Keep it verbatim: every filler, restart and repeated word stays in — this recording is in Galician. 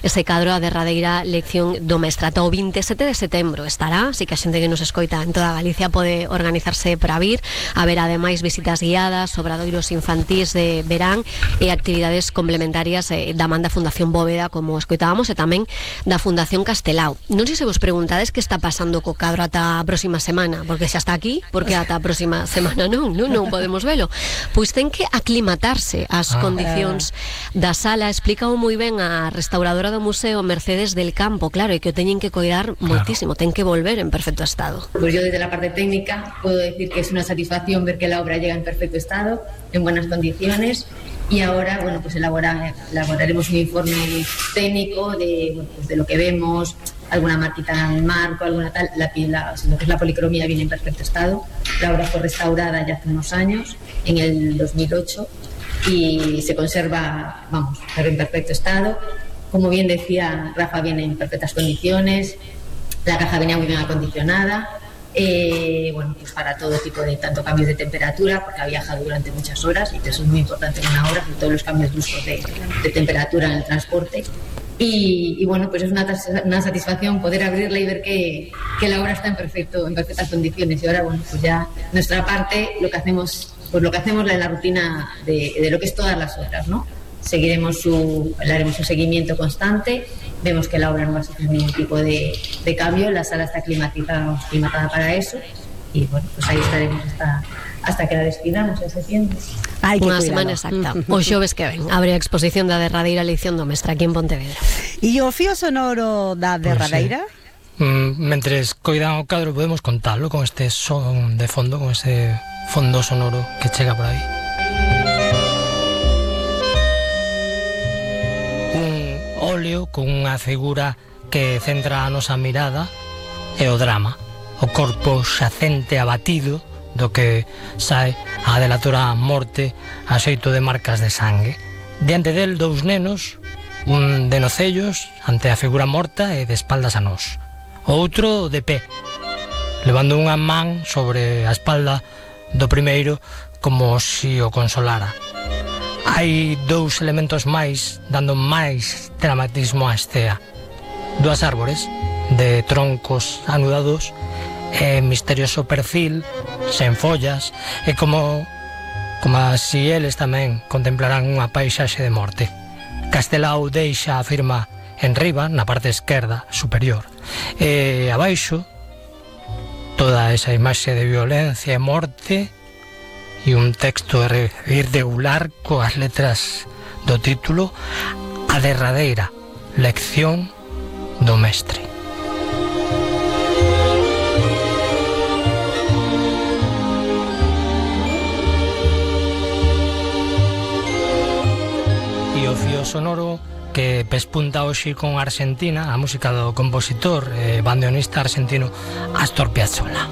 ese cadro, a derradeira lección do mestre. Ata o vinte e sete de setembro estará, así que a xente que nos escoita en toda Galicia pode organizarse para vir. Haber ademais visitas guiadas, obradoiros infantís de verán e actividades complementarias eh, da man da Fundación Bóveda, como escoitábamos, e tamén da Fundación Castelao. Non sei se vos preguntades que está pasando co cadro ata a próxima semana, porque xa está aquí, porque ata a próxima semana non, non, non podemos velo. Pois ten que aclimatarse ás ah, condicións eh. da sala. Explica moi ben a restauradora do museo, Mercedes del Campo, claro, e que o teñen que coidar claro. moitísimo, ten que volver en perfecto estado. Pues yo desde la parte técnica puedo decir que es una satisfacción ver que la obra llega en perfecto estado, en buenas condiciones, y ahora, bueno, pues elabora, elaboraremos un informe técnico de, bueno, pues de lo que vemos, alguna marquita en el marco, alguna tal. La, la, lo que es la policromía viene en perfecto estado. La obra fue restaurada ya hace unos años, en el dos mil ocho, y se conserva, vamos, pero en perfecto estado. Como bien decía Rafa, viene en perfectas condiciones, la caja venía muy bien acondicionada. Eh, bueno, pues para todo tipo de tanto cambios de temperatura, porque ha viajado durante muchas horas y eso es muy importante en una hora, sobre todo los cambios bruscos de, de temperatura en el transporte. Y, y bueno, pues es una, una satisfacción poder abrirla y ver que, que la obra está en perfecto, en perfectas condiciones. Y ahora, bueno, pues ya nuestra parte, lo que hacemos, pues lo que hacemos en la rutina de, de lo que es todas las obras, ¿no? Seguiremos su, le haremos un seguimiento constante. Vemos que la obra no va a sufrir ningún tipo de, de cambio, la sala está climatizada, climatizada para eso, y bueno, pues ahí estaremos hasta, hasta que la despidamos en septiembre. Unha semana exacta. O xoves que ven abre a exposición da derradeira lección do mestre aquí en Pontevedra. E o fío sonoro da derradeira? Pues, sí. mm, mentres coidan o cadro podemos contalo con este son de fondo, con ese fondo sonoro que chega por aí. Óleo con unha figura que centra a nosa mirada e o drama, o corpo xacente abatido do que sae a delatora morte a xeito de marcas de sangue. Diante del dous nenos, un de nocellos ante a figura morta e de espaldas a nós, o outro de pé, levando unha man sobre a espalda do primeiro como si o consolara. Hai dous elementos máis dando máis dramatismo á escena. Dúas árbores de troncos anudados e misterioso perfil sen follas, e como como si eles tamén contemplaran unha paisaxe de morte. Castelao deixa a firma en riba, na parte esquerda superior, e abaixo toda esa imaxe de violencia e morte e un texto irregular coas letras do título: A derradeira lección do mestre. E o fío sonoro que pespunta hoxe con Argentina, a música do compositor e bandoneonista argentino Astor Piazzolla.